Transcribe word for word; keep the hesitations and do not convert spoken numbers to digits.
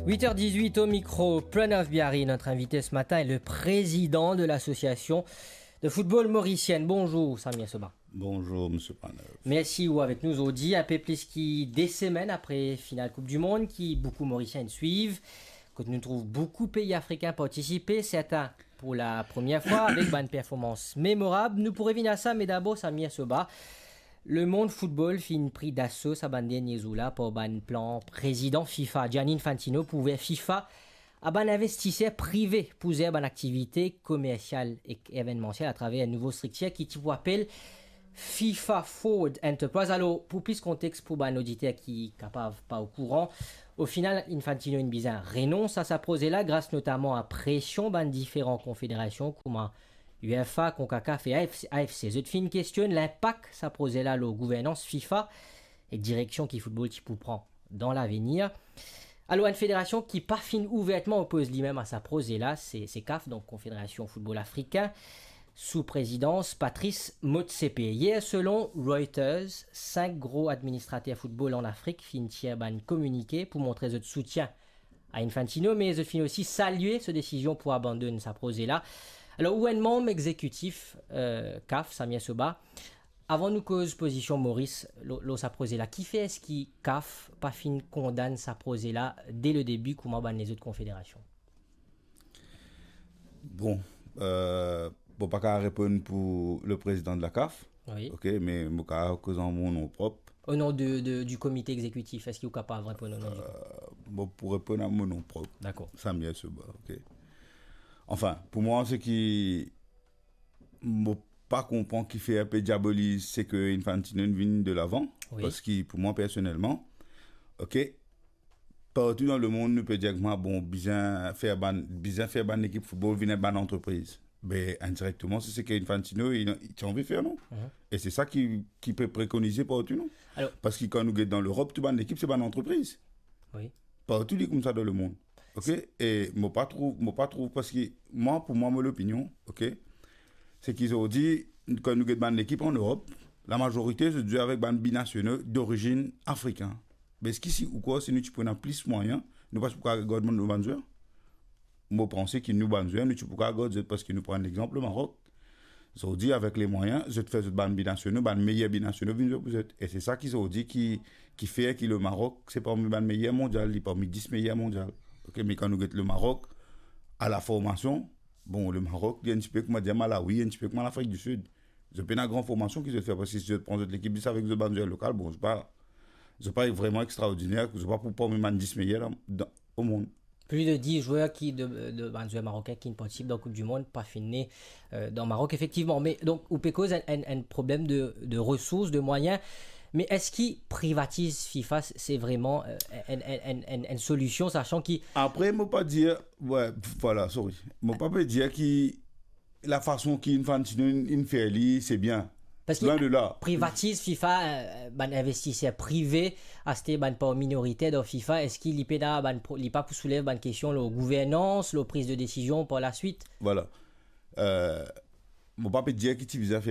Huit heures dix-huit au micro, Pranav Biari, notre invité ce matin est le président de l'association de football mauricienne. Bonjour, Samir Soba. Bonjour, monsieur Pranav. Mersi ou avek nou zordi, inpe plis ki de semenn apre final Koup di Mond ki boukou Morisien inn swiv, kot nou trouv boukou pei afrikin partisipe, sertin pou la premie fwa, avek bann performans memorab. Nou pou revinn a sa, me dabor, Samir Soba, lemond football finn pri daso sa bann dernie zour la par bann plan prezidan fifa, Gianni Infantino, pou ouver fifa a bann investiser prive pou zer bann aktivite komersial ek evennmansiel atraver enn nouvo striktir ki ti pou apel fifa Forward Enterprise. Alor, pou plis kontex, pou bann oditer ki kapav pa okouran, o final, Infantino inn bizin renons a sa proze la, gras notaman a presion bann diferan konfederasion, kouma UEFA, CONCACAF e AFC, AFC. Zot finn kestionn linpak sa proze la lor gouvernans fifa ek direksion ki football ti pou pran dan lavenir. Alor, enn federasion ki pa finn ouvertman opoz limem a sa proze la, se, se CAF, donk Konfederasion Football Afrikin, sou prezidans Patrice Motsepe. Yer, selon Reuters, sink gro administrater football an Afrik finn tir bann kominike pou montre zot soutien a Infantino, me zot finn osi salie so desizion pou abandonn sa proze la. Alor, ou enn manm exekitif, eh, CAF, Samir Soba, avan nou koz pozision Moris lor, lor sa proze la, kifer eski CAF pa finn kondann sa proze la de le debi kouma bann lezot konfederasion? Bon, eh, mo pa kapav reponn pou le prezidan de la CAF. Wi. Ok, me mo kapav koz an mo non prop. O non de, de, di komite exekitif, eski ou kapav reponn o non di... Eh, mo pou reponn a mo non prop. Dakor. Samir Soba, ok. Anfin, pou mwa, seki mo pa konpran kifer pe diaboliz seki Infantino inn vinn de lavan, wi, parski pou mwa personelman, ok, partou dan lemond, nou pe dir kouma, bon, bizin fer bann, bizin fer bann ekip football vinn bann antrepriz. Be, indirekteman, se seki Infantino, li, li ti anvi fer, non? Mhm. E se sa ki, ki pe prekonize partou, non? Alor, parski kan nou get dan Lerop, tou bann lekip, se bann antrepriz. Wi. Partou, li koumsa dan lemond. Ok? E mo pa trouv, mo pa trouv, parski mwa, pou mwa, mo lopinion, ok, seki zordi, kan nou get bann lekip an Lerop, lamazorite, zot zwe avek bann binasional dorizinn afrikin. Be eski si ou krwar si nou ti pou ena plis mwayin, nou pa ti pou kapav gard nou bann zwer? Mo panse ki nou bann zwer, nou ti pou kapav gard zot, parski nou pran lexanp Marok. Zordi, avek le mwayin, zot fer zot bann binasional, bann meyer binasional vinn zwe pou zot. E se sa ki zordi ki, ki fer ki le Marok, se parmi bann meyer mondial, li parmi dis meyer mondial. Ok, me kan nou get le Marok, a la formasion, bon, le Marok, li enn tipe kouma dir Malawi, enn tipe kouma Lafrik di Sid. Zot pena gran formasion ki zot fer, parski si zot pran zot lekip zis avek zot bann zwer lokal, bon, zot pa, zot pa vreman extraordiner, zot pa pou parmi bann dis meyer la, dan, o mond. Plis de dis zwer ki de, de bann zwer marokin ki inn partisip dan Koup di Mond pa finn ne, eh, dan Marok, efektivman. Me donk, ou pe koz enn, enn, enn problem de, de resours, de mwayin. Me eski privatiz fifa, se vreman, eh, enn, enn, enn, enn, enn solision, sasan ki... Apre, mo pa dir, wi, vwala, sorry. Mo pa pe dir ki lafason ki Infantino inn, inn fer li, se bien. Parski... Lwen de la. Privatiz fifa, eh, bann investiser prive, aste bann par minoriter dan fifa, eski li pena bann pro-, li pa pou soulev bann kestion lor gouvernans, lor priz de desizion par laswit? Vwala. Eh, mo pa pe dir ki ti bizin fer